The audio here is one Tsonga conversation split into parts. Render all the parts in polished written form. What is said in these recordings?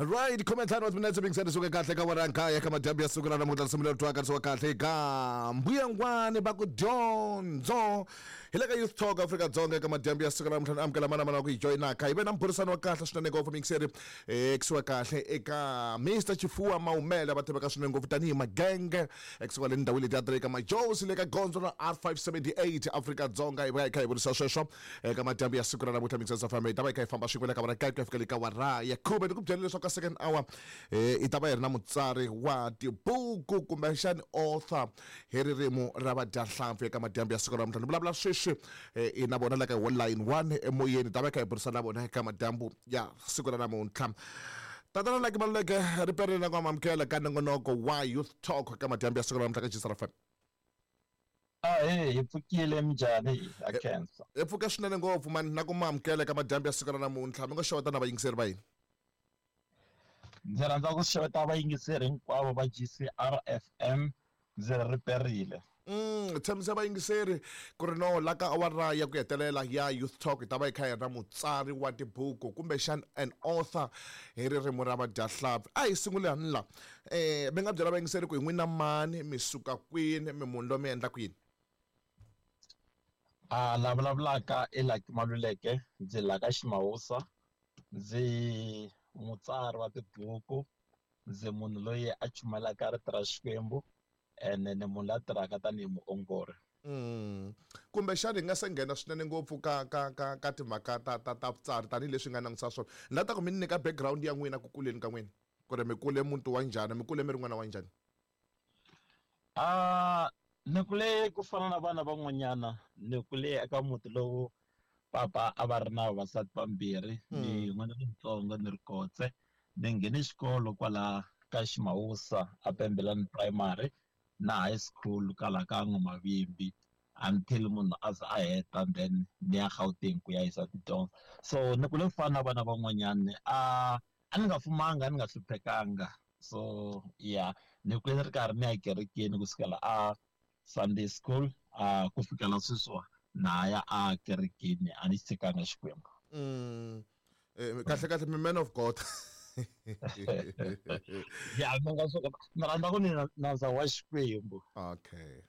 Right, 15 wa timinetse mingiseni suke kahle ka wena nkaya ka madyambu ya siku ra namuntlha risimu leri twakarisiwa kahle ka mbuyangwani va ku dyondzo hi le ka Youth Talk Afrika Dzonga eka madyambu ya siku ra namuntlha ni amukela mana mana wa ku hi joyinaka hi ve na mbhurisano wa kahle swinene ngopfu mingiseri kusuka kahle eka Mr Chifuwa Maumela va tiveka swinene ngopfu tanihi Magenge ekusuka le ndhawini leti ya tirheka Majosi le ka gondzo ra R578 Afrika Dzonga hi va hi kha hi vurisa sweswo eka madyambu ya siku ra namuntlha Mixers FM hi ta va hi kha hi famba swin'we le ka wara kaye ku ya fika le ka wara ya khume ni ku byela leswaku ka second hour hi ta va hi ri na mutsari wa tibuku kumbexani author hi ririmi ra vadyahlampfi eka madyambu ya siku ra namuntlha ni vulavula sweswi hi na vona la ka line 1 emoyeni hi ta va hi kha hi burisana na vona eka madyambu ya siku ra namuntlha. Tatana Lucky Maluleke ri perile na ku amukela ka nongonoko wa Youth Talk eka madyambu ya siku ra namuntlha ka GCR FM. Ahee, hi pfukile minjhani? Ha khensa. Hi pfuke swinene ngopfu mani na ku ma amukela eka madyambu ya siku ra namuntlha. Mi ngo xeweta na vayingiseri va hina. Ndzi rhandza ku xeweta vayingiseri hinkwavo va GCR FM ndzi ri riperile. Tshembisa vayingiseri ku ri no la ka awara ya ku hetelela ya Youth Talk hi ta va hi kha hi ri na mutsari wa tibuku kumbexana an author hi ririmi ra vadyahlampfi. A hi sungule hani la. Mi nga byela vayingiseri ku hi n'wina mani, mi suka kwini, mi munhu loyi mi endlaka yini? A la vulavulaka i Lucky Maluleke, ndzi la ka Ximawusa, ndzi mutsari wa tibuku, ndzi munhu loyi a chumayelaka rito ra Xikwembu ene ni munhu la tirhaka tanihi muongori. Kumbexana hi nga se nghena swinene ngopfu ka ka ka ka timhaka ta ta ta vutsari tanihileswi hi nga langutisa swona, ni lava ta ku mi ni nyika background ya n'wina ku kuleni ka n'wina, ku ri mi kule muti wa njhani, mi kule mi ri n'wana wa njhani? Ni kule ku fana na vana van'wanyana, ni kule eka muti lowu papa a va ri na vavasati vambirhi, ni n'wana lontsongo ni ri kotse. Ni nghene xikolo kwala ka Ximawusa a Pembelani Primary na high school kwala ka N'wamavimbi until munhu a za a heta then ni ya Gauteng ku ya yisa tidyondzo. So ni kule ku fana na vana van'wanyana, a a ni nga fumanga a ni nga hluphekanga. So yeah, ni kule ni ri karhi ni ya kerekeni kusukela a Sunday school a ku fikela sweswiwa na ha ya a kerekeni a ni xi tshikanga Xikwembu. Kahle kahle mi man of God. Ya mi nga swi ni rhandza ku ni nandza wa Xikwembu. Okay.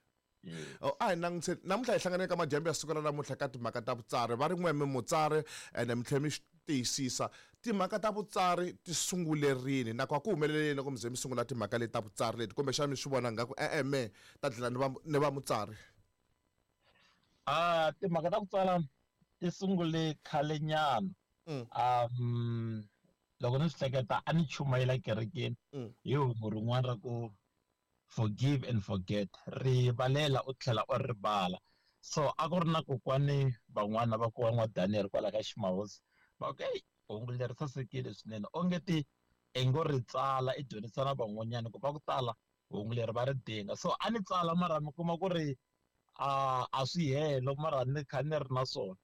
Oh, a hi langutise namuntlha hi hlangane ka madyambu ya siku ra namuntlha ka timhaka ta vutsari va ri n'we mi mutsari ene mi tlhela mi swi tiyisisa timhaka ta vutsari ti sungule rini nakona ku humelele yini loko mi ze mi sungula timhaka leti ta vutsari leti kumbexana mi swi vona ngaku e-e me ta dlina ni va ni va mutsari? A timhaka ta ku tsala ti sungule khale nyana. Loko ni swi hleketa a ni chumayela kerekeni hi hungu rin'wana ra ku forgive and forget, rivalela u tlhela u rivala. So a ku ri na kokwani van'wana va ku wa Daniel kwala ka Ximahosi va ku hey hungu leri sasekile swinene onge ti i ngo ri tsala i dyondzisa na van'wanyana ku va ku tala hungu leri va ri dinga. So a ni tsala mara mi kuma ku ri a swi helo mara ni kha ni ri na swona.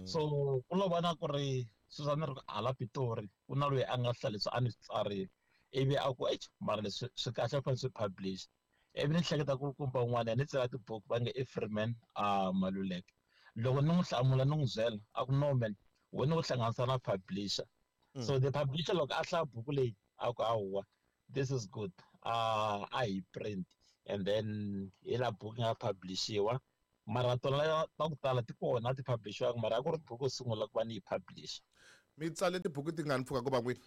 So ku lo vona ku ri sweswi a ni ri hala Pitori ku na loyi a nga hlaya leswi a ni swi tsarile ivi a ku eish mara leswi swi kahle ku fanele swi publish. Ivi ni hleketa ku kumba un'wana ni tsala tibuku va nge i Freeman a Maluleke. Loko ni n'wi hlamula ni n'wi byela a ku no man wena u hlanganisa na publisher. So the publisher loko a hlaya buku leyi a ku hawa this is good, a hi print and then hi la buku yi nga publishiwa. Mara tona ta ku tala ti kona ti publishiwanga mara a ku ri buku yo sungula ku va ni yi publish. Mi tsale tibuku tingani mpfhuka ku va n'wini?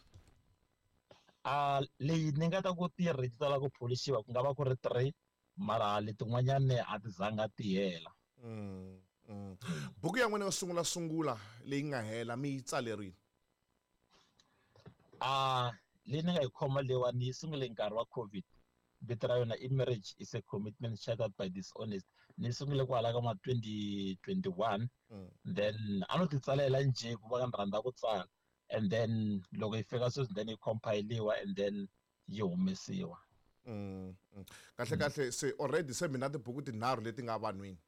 A leyi ni nga ta ku ti ri ti tala ku pholishiwa ku nga va ku ri 3 mara letin'wanyani a ti zanga ti hela. Buku ya n'wina yo sungula sungula leyi nga hela mi yi tsale rini? A leyi ni nga yi khoma leyiwani yi sungule nkarhi wa COVID. Vito ra yona i Marriage is a Commitment Shattered by Dishonesty. Ni sungule kwala ka ma 2021. Then a no ti tsalela njhe ku va ni rhandza ku tsala. And then loko yi fika sweswi then yi compile-iwa and then yi humesiwa. Kahle kahle se already se mina tibuku tinharhu leti nga vanhwini.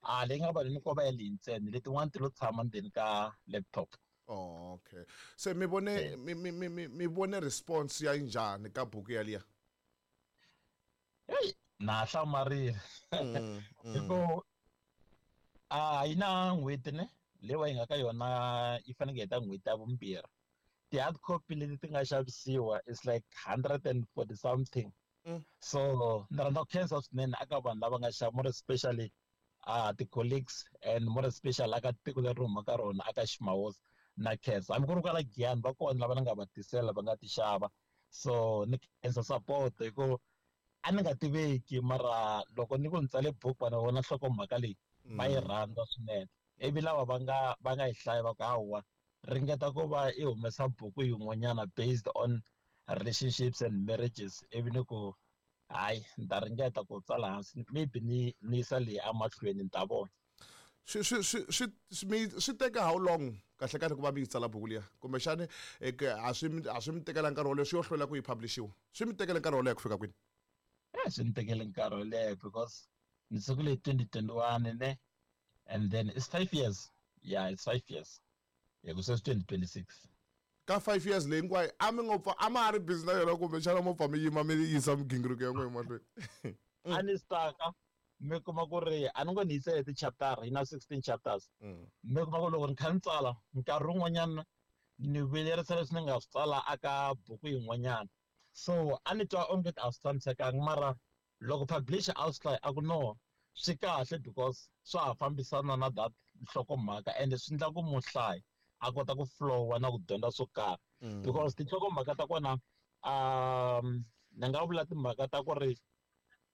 A leyi nga vanhwini ko va ya leyi ntsena letin'wana ti lo tshama ndzeni ka laptop. Oh, okay. Se mi vone mi mi mi mi mi vone response ya njhani ka buku yaliya? Hey, na hlamarile. Hi ku a yi na n'hweti ne leyi va yi nga ka yona yi fanekele yi heta n'hweti ya vumbirhi. Ti-hard copy leti ti nga xavisiwa is like 140 something. So ni rhandza ku khensa swinene aka vanhu lava nga xava, more especially ti-colleagues and more especially aka tiko leri humaka rona aka Ximawosi na khensa. Hambi ku ri kwala Giyani va kona lava ni nga va tisela va nga ti xava. So ni khensa support hi ku a ni nga tiveki, mara loko ni ku ni tsale buku vanhu va vona nhlokomhaka leyi va yi rhandza swinene. Ivi lava va nga yi hlaya va ku hawa, ringeta ku va i humesa buku yin'wanyana based on relationships and marriages. Ivi ni ku hayi, ni ta ringeta ku tsala hansi, maybe ni yisa leyi emahlweni, ni ta vona. Swi teka how long kahle kahle ku va mi yi tsala buku liya? Kumbexani a swi mi tekela nkarhi wo leha, swi yo hlwela ku yi publishiwa, swi mi tekele nkarhi wo leha ku fika kwini? Swi ni tekele nkarhi wo leha because ni sungule hi 2021 ne, and then it's 5 years. Yeah, it's 5 years hi ku sweswi 2026. Ka 5 years leyi hinkwayo a mi ngo pfa a ma ha ri busy na yona, kumbexana mo pfa mi yima mi yisa migingiriko ya n'we emahlweni? A ni staka, mi kuma ku ri a ni ngo ni yisele ti-chapter, yi na 16 chapters. Mi kuma ku loko ni kha ni tsala nkarhi wun'wanyana ni vuyelerisa leswi ni nga swi tsala aka buku yin'wanyana, so a ni twa onge a swi tshamisekanga. Mara loko publisher a swi hlaya a ku no, swi kahle because swa ha fambisana na that nhlokomhaka, ende swi endla ku muhlayi a kota ku flowa na ku dyondza swo karhi because tinhlokomhaka ta kona, ni nga vula timhaka ta ku ri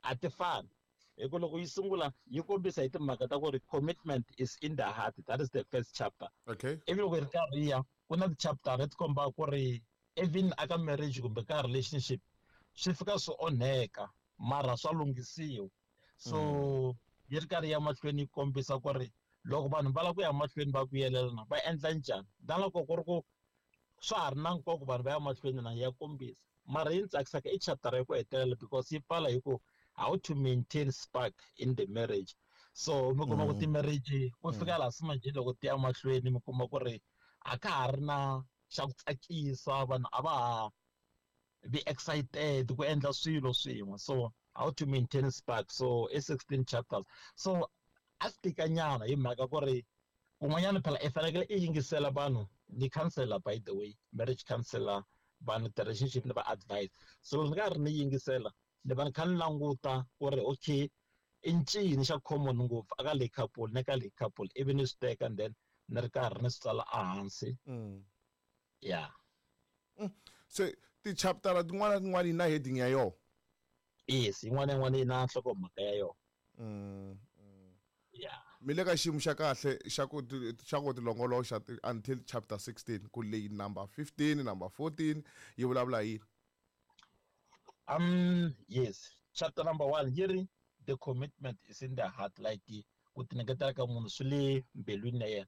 a ti fani. Hi ku loko yi sungula yi kombisa hi timhaka ta ku ri commitment is in the heart, that is the first chapter. Ivi loko yi ri karhi yi ya, ku na ti-chapter leti kombaka ku ri even aka marriage kumbe ka relationship swi fika swi onheka, mara swa lunghisiwa. So yi ri karhi ya mahlweni yi kombisa ku ri loko vanhu va lava ku ya mahlweni va vuyelelana va endla njhani, na loko ku ri ku swa ha ri na nkoka vanhu va ya mahlweni na ya kombisa. Mara yi ni tsakisaka i chapter ya ku hetelela because yi pfala hi ku how to maintain spark in the marriage. So mi kuma ku ti-marriage ku fika laha se manjhe loko ti ya mahlweni mi kuma ku ri a ka ha ri na xa ku tsakisa, vanhu a va ha be excited ku endla swilo swin'we. So how to maintain spark, so i 16 chapters. So a swi tikanyana hi mhaka ku ri kun'wanyana phela i fanekele i yingisela vanhu. Ni counselor, by the way, marriage counselor, vanhu ti-relationship ni va advice. So loko ni karhi ni yingisela ni va ni kha ni languta ku ri okay, i ncini xa common ngopfu aka leyi couple na ka leyi couple, ivi ni swi teka and then ni ri karhi ni swi tsala ehansi. Yeah. Se ti-chapter tin'wana na tin'wana yi na heading ya yona? Yes, yin'wana na yin'wana yi na nhlokomhaka ya yona. Yeah. Mi le ka xiyimo xa kahle xa ku tilongoloxa until chapter 16, ku leyi number 15, number 14 yi vulavula hi yini? Yes, chapter number 1 yi ri the commitment is in the heart, like ku tinyiketela ka munhu swi le mbilwini ya yena.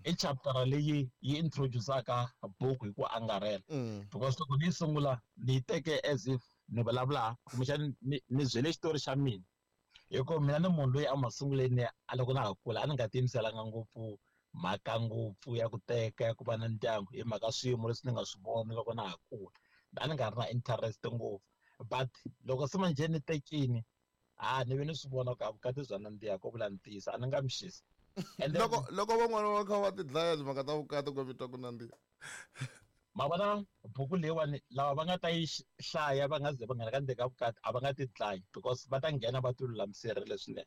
I chapter leyi yi introduce-aka buku hi ku angarhela because loko ni yi sungula ni yi teke as if ni vulavula kumbexani ni byele xitori xa mina, hi ku mina ni munhu loyi a masunguleni a loko na ha kula a ni nga tiyimiselanga ngopfu mhaka ngopfu ya ku teka, ya ku va na ndyangu, hi mhaka swiyimo leswi ni nga swi vona loko na ha kula, a ni nga ri na interest ngopfu. But loko se manjhe ni tekini, ha ni ve ni swi vona ku a vukati bya nandziha, ko vula ntiyiso a ni nga mi xisi. And then Loko van'wana va kha va ti dlaya timhaka ta vukati, ku mi twa ku nandziha? Ma vona buku leyiwani, lava va nga ta yi hlaya va nga ze va nghena ka ndzeni ka vukati a va nga ti dlayi because va ta nghena va ti lulamiserile swinene.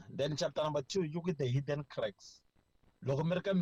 Then chapter number 2 you get the hidden cracks loko mi ri ka.